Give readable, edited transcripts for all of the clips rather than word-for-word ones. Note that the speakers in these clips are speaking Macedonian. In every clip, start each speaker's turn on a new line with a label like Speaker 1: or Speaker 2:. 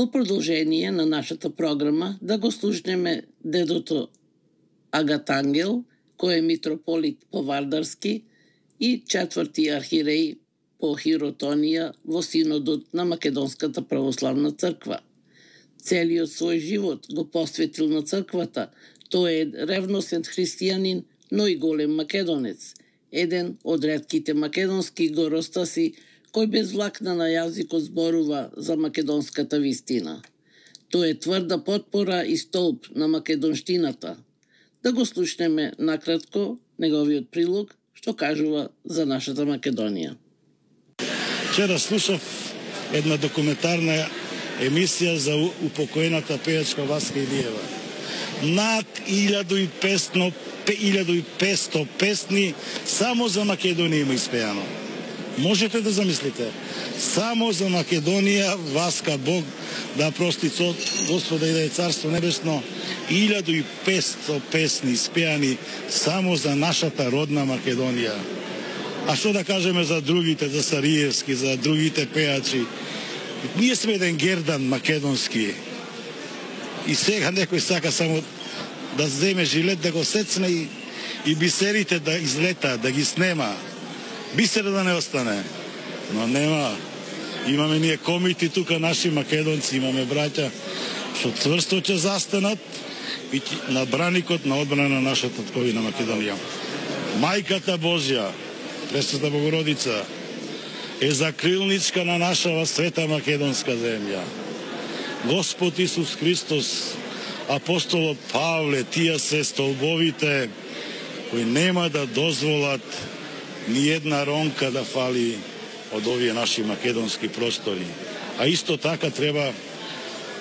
Speaker 1: Во продолжение на нашата програма да го слушнеме дедото Агатангел, кој е митрополит по Вардарски и четврти архиреј по Хиротонија во Синодот на Македонската православна црква. Целиот свој живот го посветил на црквата. Тој е ревносен христијанин, но и голем македонец. Еден од ретките македонски горостаси кој без влакна на јазикот зборува за македонската вистина. Тој е тврда потпора и столб на македонштината. Да го слушнеме накратко неговиот прилог, што кажува за нашата Македонија.
Speaker 2: Вчера слушав една документарна емисија за упокоената пејачка Васка Илиева. Над 1500 песни само за Македонија има испејано. Можете да замислите, само за Македонија, Васка Бог да прости Господа и да е Царство Небесно, 1500 песни испејани само за нашата родна Македонија. А што да кажеме за другите, за Сариевски, за другите пејачи? Ние сме еден гердан македонски. И сега некој сака само да земе жилет, да го сецне и бисерите да излета, да ги снема. Бисера да не остане. Но нема. Имаме ние комити тука, наши македонци, имаме браќа што цврсто ќе застанат и на браникот на одбрана на нашата татковина Македонија. Мајката Божја, Пресвета Богородица, е закрилничка на нашава света македонска земја. Господ Исус Христос, апостолот Павле, тие се столбовите кои нема да дозволат ни една ронка да фали од овие наши македонски простори. А исто така треба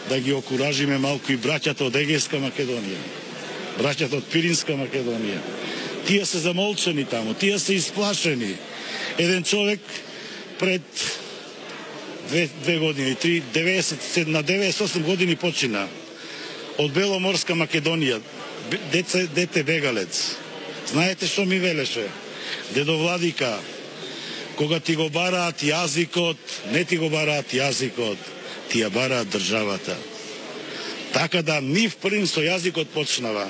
Speaker 2: да ги окуражиме малку и браќата од Егејска Македонија, браќата од Пиринска Македонија. Тие се замолчани таму, тие се исплашени. Еден човек пред 2 години, 90, на 98 години почина од Беломорска Македонија, дете бегалец. Знаете што ми велеше? Дедо Владика, кога ти го бараат јазикот, не ти го бараат јазикот, ти ја бараат државата. Така да нив првим со јазикот почнава.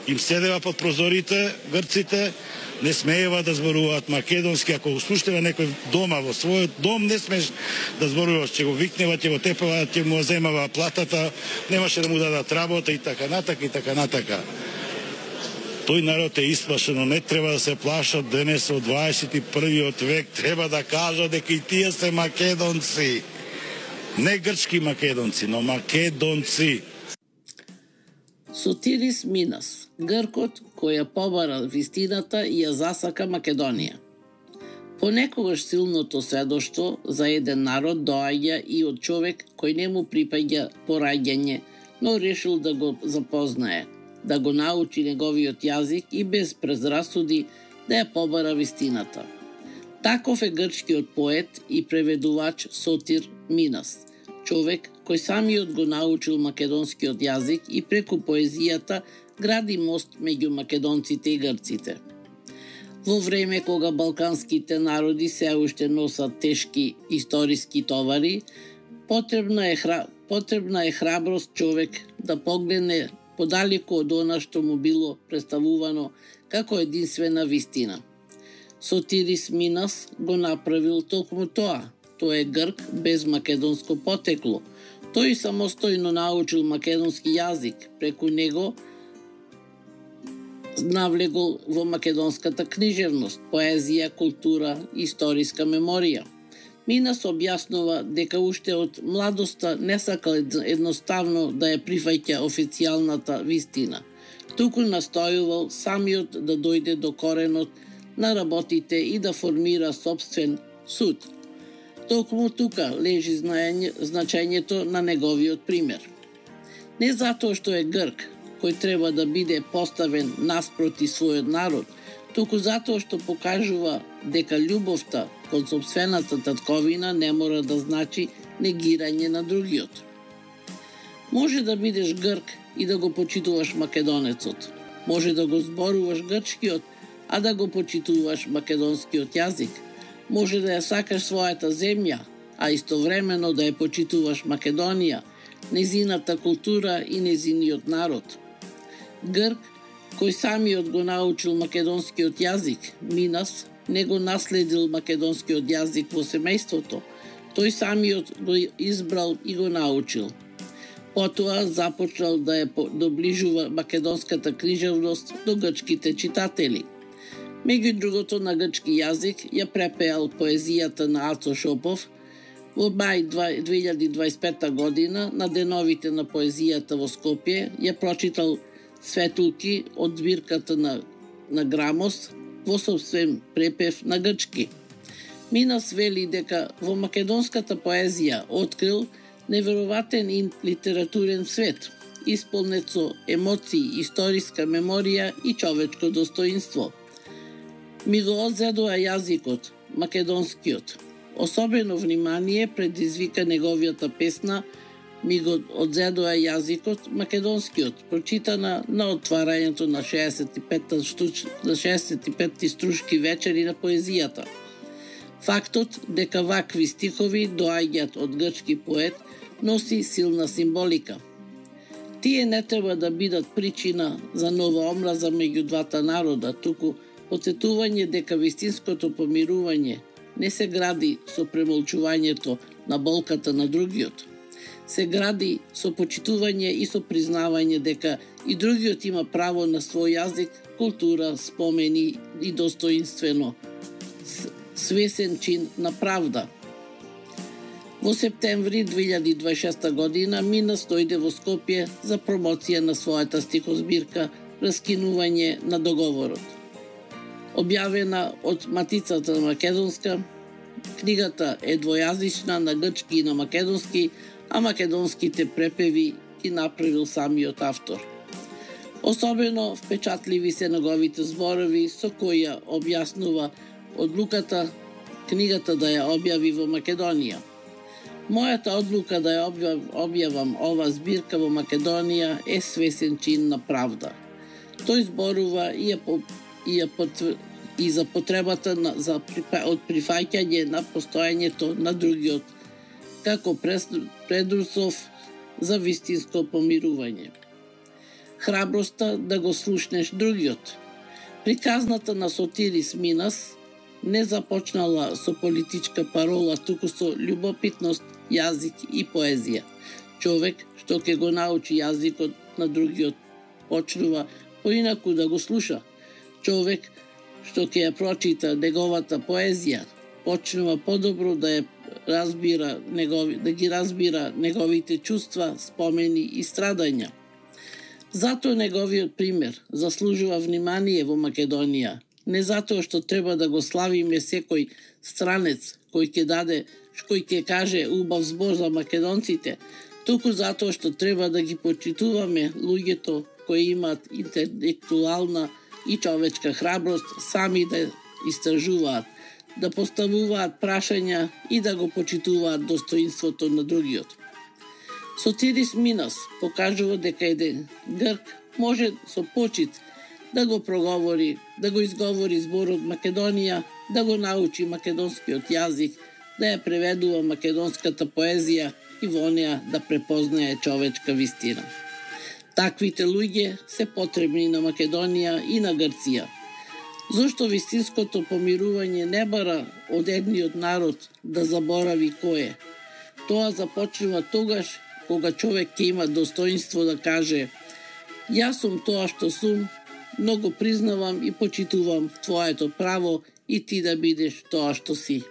Speaker 2: Им седева под прозорите грците, не смеева да зборуваат македонски. Ако слушнева некој дома, во својот дом не смееш да зборуваш, ќе го викнева, ќе го тепава, ќе му земава платата, немаше да му дадат работа и така натака и така натака. Тој народ е исплашен, но не треба да се плашат денес од 21. век, треба да кажат дека и тие се македонци. Не грчки македонци, но македонци.
Speaker 1: Сотирис Минас, гркот кој ја побара вистината и ја засака Македонија. Понекогаш силното сведоштво за еден народ доаѓа и од човек кој не му припаѓа пораѓање, но решил да го запознае, да го научи неговиот јазик и без презрасуди да ја побара вистината. Таков е грчкиот поет и преведувач Сотир Минас, човек кој самиот го научил македонскиот јазик и преку поезијата гради мост меѓу македонците и грците. Во време кога балканските народи се уште носат тешки историски товари, потребна е храброст човек да погледне подалеку од она што му било представувано како единствена вистина. Сотирис Минас го направил токму тоа. Тој е грк без македонско потекло. Тој самостојно научил македонски јазик, преку него навлегол во македонската книжевност, поезија, култура, историска меморија. Минас објаснува дека уште од младоста не сакал едноставно да ја прифаќа официјалната вистина, туку настојувал самиот да дојде до коренот на работите и да формира собствен суд. Токму тука лежи значењето на неговиот пример. Не затоа што е грк, кој треба да биде поставен наспроти својот народ, туку затоа што покажува дека љубовта кон сопствената татковина не мора да значи негирање на другиот. Може да бидеш грк и да го почитуваш македонецот. Може да го зборуваш грчкиот, а да го почитуваш македонскиот јазик. Може да ја сакаш својата земја, а истовремено да ја почитуваш Македонија. незината култура и незиниот народ. Грк, кој самиот го научил македонскиот јазик, Минас, не го наследил македонскиот јазик во семејството, тој самиот го избрал и го научил. Потоа започнал да ја доближува македонската книжевност до грчките читатели. Меѓу другото на грчки јазик ја препеал поезијата на Ацо Шопов. Во мај 2025 година на деновите на поезијата во Скопје ја прочитал светулки од збирката на Грамос во собствен препев на грчки. Минас вели дека во македонската поезија открил невероватен литературен свет, исполнет со емоции, историска меморија и човечко достоинство. Ми го одзедоа јазикот, македонскиот. Особено внимание предизвика неговијата песна Ми го одзедоа јазикот, македонскиот, прочитана на отварањето на 65-ти струшки вечери на поезијата. Фактот дека вакви стихови доаѓаат од грчки поет носи силна символика. Тие не треба да бидат причина за нова омраза меѓу двата народа, туку потсетување дека вистинското помирување не се гради со премолчувањето на болката на другиот. Се гради со почитување и со признавање дека и другиот има право на свој јазик, култура, спомени и достоинствено свесен чин на правда. Во септември 2026 година Минас дојде во Скопје за промоција на својата стихозбирка Раскинување на договорот. Објавена од Матицата македонска, книгата е двојазична на грчки и на македонски, а македонските препеви ги направил самиот автор. Особено впечатливи се неговите зборови со кои ја објаснува одлуката книгата да ја објави во Македонија. Мојата одлука да ја објавам ова збирка во Македонија е свесен чин на правда. Тој зборува и за потребата од прифаќање на постојањето на другиот, како предуслов за вистинско помирување. Храброста да го слушнеш другиот. Приказната на Сотирис Минас не започнала со политичка парола, туку со љубопитност, јазик и поезија. Човек што ќе го научи јазикот на другиот почнува поинаку да го слуша. Човек што ќе ја прочита неговата поезија почнува подобро да ја разбира неговите чувства, спомени и страдања. Затоа неговиот пример заслужува внимание во Македонија, не затоа што треба да го славиме секој странец кој ќе каже убав збор за македонците, туку затоа што треба да ги почитуваме луѓето кои имаат интелектуална и човечка храброст сами да истражуваат, да поставуваат прашања и да го почитуваат достоинството на другиот. Сотирис Минас покажува дека еден грк може со почит да го проговори, да го изговори зборот Македонија, да го научи македонскиот јазик, да ја преведува македонската поезија и во неа да препознае човечка вистина. Таквите луѓе се потребни на Македонија и на Грција. Зошто вистинското помирување не бара од едниот народ да заборави кој е? Тоа започнува тогаш кога човек ќе има достоинство да каже: јас сум тоа што сум, но го признавам и почитувам твоето право и ти да бидеш тоа што си.